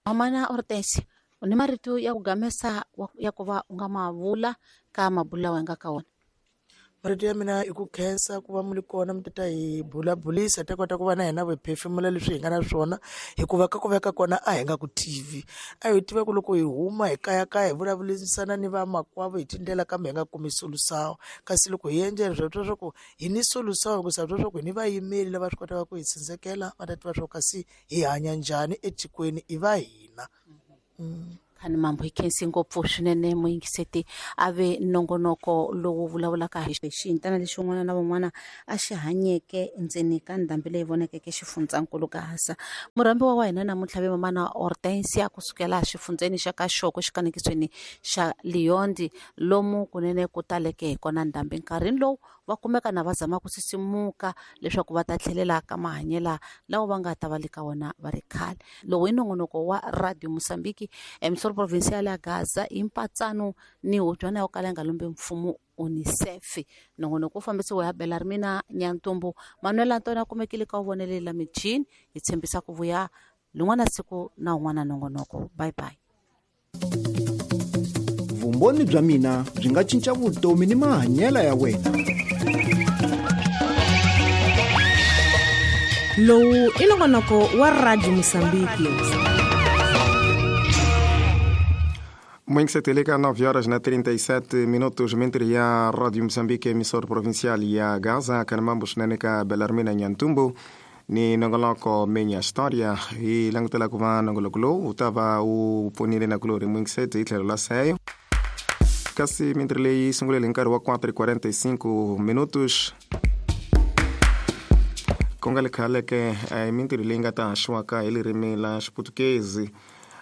Mamana Hortensia, u ni marito ya ku gamesa ya ku va u nga ma vula ka mabulu lawa hi nga ka wona? Marito ya mina i ku khensa ku va mi ri kona mi ta hi bulabulisa ta kota ku va na hina hi phefemula leswi hi nga na swona, hikuva ka ku veka kona a hi nga ku tivi. A hi tiva ku loko hi huma hi kayakaya hi vulavurisana ni vamakwavo hi tindlela, kambe hi nga kumi solution. Kasi loko hi endla swa twa swa ku hi ni solution, hikuva twa swa ku hi ni vayimeri lava swi kotaka ku hi tsindzekela, va ta tiva swa ku kasi hi hanya njhani etikweni, i va hina. Khani mambo hi khensi ngopfu swinene muyingiseti a ve nongonoko lowu vulavulaka hi xiyintana lexi un'wana na un'wana a xi hanyeke endzeni ka ndhambi leyi vonakeke xifundzankulu Gaza. Murhambiwa wa hina namuntlha ve mamana Hortensia kusukela xifundzeni xa ka Xoko xikanekisweni xa Leondi, lomu kunene ku taleke hi kona ndhambi. Nkarhini lowu va kumeka na va zama ku sisimuka leswaku va ta tlhelela ka mahanyela lawa va nga ta va le ka wona va ri khale. Lowu i nongonoko wa Radio Mozambique, emisoro provincial ya Gaza, hi mpatsano ni hubyana yo kala yi nga lombi mfumo UNICEF. Nongonoko wu fambisiwa hi Belarmina Nyantumbu. Manuel Antonio a kumekile ka wu vonele la michini. Hi tshembisa ku vuya lin'wana siku na un'wana nongonoko. Bye bye. Vumbhoni bya mina byi nga cinca vutomi ni mahanyelo ya wena. Lowu i nongonoko wa Radio Mosambiki. Muito lika 9 horas na 37 minutos, mentri ya Radio Mozambique, emissora provincial ya Gaza, kanamambo swinene ka Belarmina Nyantumbu ni nongoloko Minha História. Hi langutela ku va nongoloko lowu wu ta va wu pfunile na kulori mwingiseti hi tlhelo la seyo. Kasi mintirho leyi sungulele hi nkarhi wa 4:45 minutos, ku nga le khale ke mintirho leyi nga ta haxiwaka hi ririmi la Xiputukezi.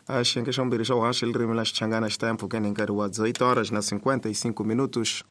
Xiyenge xa vumbirhi xa vuhaxi hi ririmi la Xichangana xi ta ya mpfhukeni hi nkarhi wa 18 horas na 55 minutos.